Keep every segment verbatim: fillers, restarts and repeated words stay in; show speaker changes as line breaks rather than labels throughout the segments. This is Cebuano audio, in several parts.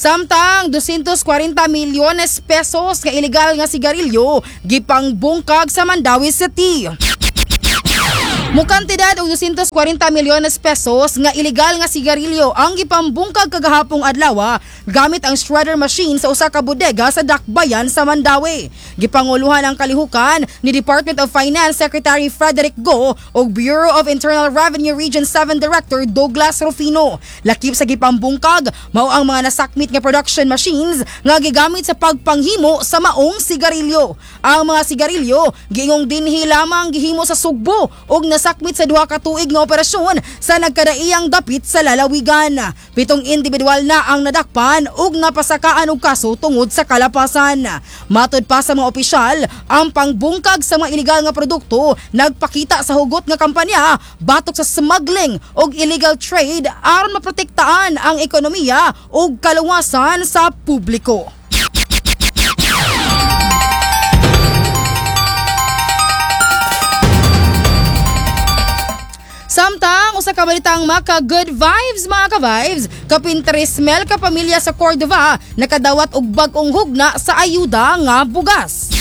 Samtang two hundred forty milyones pesos nga ilegal nga sigarilyo gipangbungkag sa Mandaue City. Mukantidad og two hundred forty milyones pesos nga ilegal nga sigarilyo ang gipambungkag kagahapong adlaw gamit ang shredder machine sa usa ka bodega sa Dakbayan sa Mandaue. Gipanguluhan ang kalihukan ni Department of Finance Secretary Frederick Go ug Bureau of Internal Revenue Region seven Director Douglas Rufino. Lakip sa gipambungkag mao ang mga nasakmit nga production machines nga gigamit sa pagpanghimo sa maong sigarilyo. Ang mga sigarilyo giingong dinhi lamang gihimo sa Sugbo ug nasakmit sa duha ka tuig nga operasyon sa nagkadaiyang dapit sa lalawigan. Pitong individual na ang nadakpan ug napasakaan og kaso tungod sa kalapasan. Matod pa sa mga opisyal, ang pangbungkag sa mga ilegal nga produkto nagpakita sa hugot nga kampanya batok sa smuggling ug illegal trade aron maprotektaan ang ekonomiya ug kaluwasan sa publiko. Samtang usa ka balitang maka good vibes, mga ka-vibes, kapin tres mil ka pamilya sa Cordova nakadawat og bag-ong hugna sa ayuda nga bugas.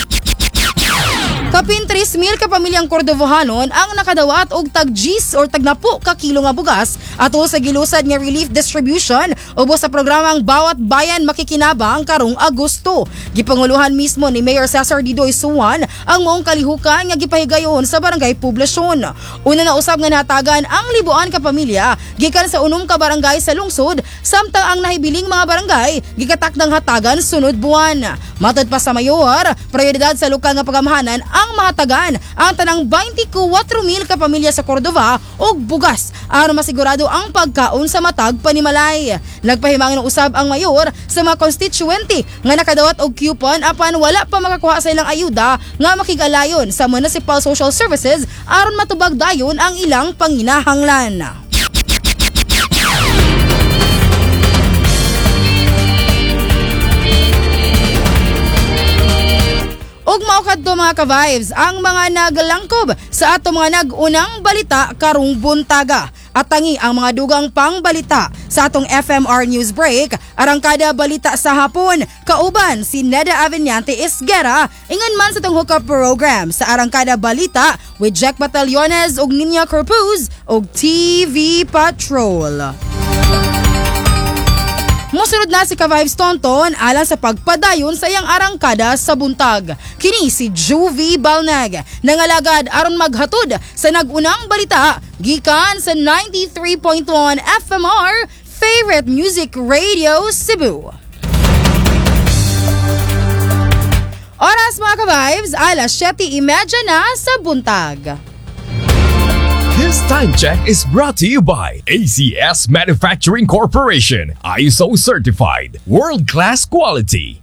Kapin tres mil ka pamilyang Cordovahanon ang nakadawat og tag diyes or tagnapo ka kilo nga bugas ato sa gilusad nga relief distribution ubos sa programang Bawat Bayan Makikinabang karong Agosto. Gipanguluhan mismo ni Mayor Cesar Didoy Suwan ang maong kalihukan nga gipahigayon sa Barangay Poblasyon. Una na usab nga natagan ang libuan ka pamilya gikan sa unom ka barangay sa lungsod, samtang ang nahibiling mga barangay gikatakdang hatagan sunod buwan. Matod pa sa mayor, prioridad sa lokal nga pagamhanan ang mahatagan ang tanang twenty-four mil ka pamilya sa Cordova og bugas aron masigurado ang pagkaon sa matag panimalay. Nagpahimangin usab ang mayor sa mga constituente nga nakadawat og coupon apan wala pa makakuha sa ilang ayuda nga makig-alayon sa Municipal Social Services aron matubag dayon ang ilang panginahanglan. Ug mao kadto, mga ka-vibes, ang mga naglangkob sa ato mga nag-unang balita karong buntaga. Atangi ang mga dugang pangbalita sa atong F M R News Break, Arangkada Balita sa Hapon. Kauban si Neda Aveniante Esguera, ingon man sa atong hookup program sa Arangkada Balita with Jack Batallones ug Ninya Corpuz ug T V Patrol. Musunod na si Ka-Vibes Tonton alang sa pagpadayon sa iyang arangkada sa buntag. Kini si Juvie Balnag, nangalagad aron maghatod sa nag-unang balita gikan sa ninety-three point one F M R Favorite Music Radio Cebu. Oras, mga ka-vibes, alas seven thirty na sa buntag.
This time check is brought to you by A C S Manufacturing Corporation, I S O certified, world-class quality.